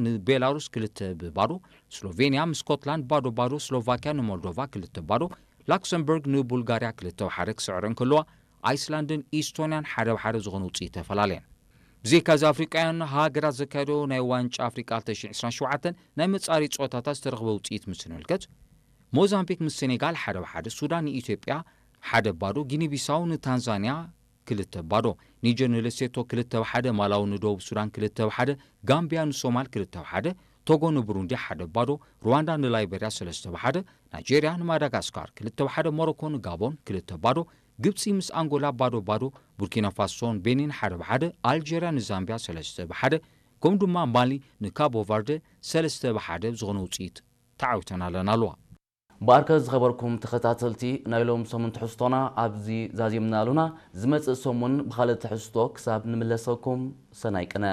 ንቤላሩስ ክልተ ብባዶ፣ ስሎቬንያ ምስ ስኮትላንድ ባዶ ባዶ፣ ስሎቫኪያ ንሞልዶቫ ክልተ ባዶ፣ ላክሰምበርግ ንቡልጋርያ ክልተ ሓደ ክስዕረ እንከለዋ፣ ኣይስላንድን ኢስቶንያን ሓደ ብሓደ ዝኾነ ውፅኢት ተፈላለየን። ብዘይካዚ ኣፍሪቃውያን ሃገራት ዘካየዶ ናይ ዋንጫ ኣፍሪቃ ክልተ ሽሕን ዕስራን ሸውዓተን ናይ መጻሪ ጸወታታት ዝተረኽበ ውፅኢት ምስ ንምልከት፣ ሞዛምቢክ ምስ ሴኔጋል ሓደ ብሓደ፣ ሱዳን ንኢትዮጵያ ሓደ ባዶ፣ ጊኒ ቢሳው ንታንዛንያ ክልተ ባዶ፣ ኒጀር ንሌሴቶ ክልተ ብሓደ፣ ማላዊ ንደቡብ ሱዳን ክልተ ብሓደ፣ ጋምቢያ ንሶማል ክልተ ብሓደ፣ ቶጎ ንብሩንዲ ሓደ ባዶ፣ ሩዋንዳ ንላይበርያ ሰለስተ ብሓደ፣ ናይጀርያ ንማዳጋስካር ክልተ ብሓደ፣ ሞሮኮ ንጋቦን ክልተ ባዶ፣ ግብጺ ምስ ኣንጎላ ባዶ ባዶ፣ ቡርኪና ፋሶን ቤኒን ሓደ ብሓደ፣ ኣልጀርያ ንዛምቢያ ሰለስተ ብሓደ፣ ከምኡ ድማ ማሊ ንካቦ ቨርደ ሰለስተ ብሓደ ዝኾነ ውፅኢት ተዓዊተን ኣለና ኣለዋ። ብኣርከ ዝኸበርኩም ተኸታተልቲ ናይ ሎም ሰሙን ትሕዝቶና ኣብዚ ዛዚምና ኣሉና። ዝመጽእ ሰሙን ብኻልእ ትሕዝቶ ክሳብ ንምለሰኩም ሰናይ ቅነ።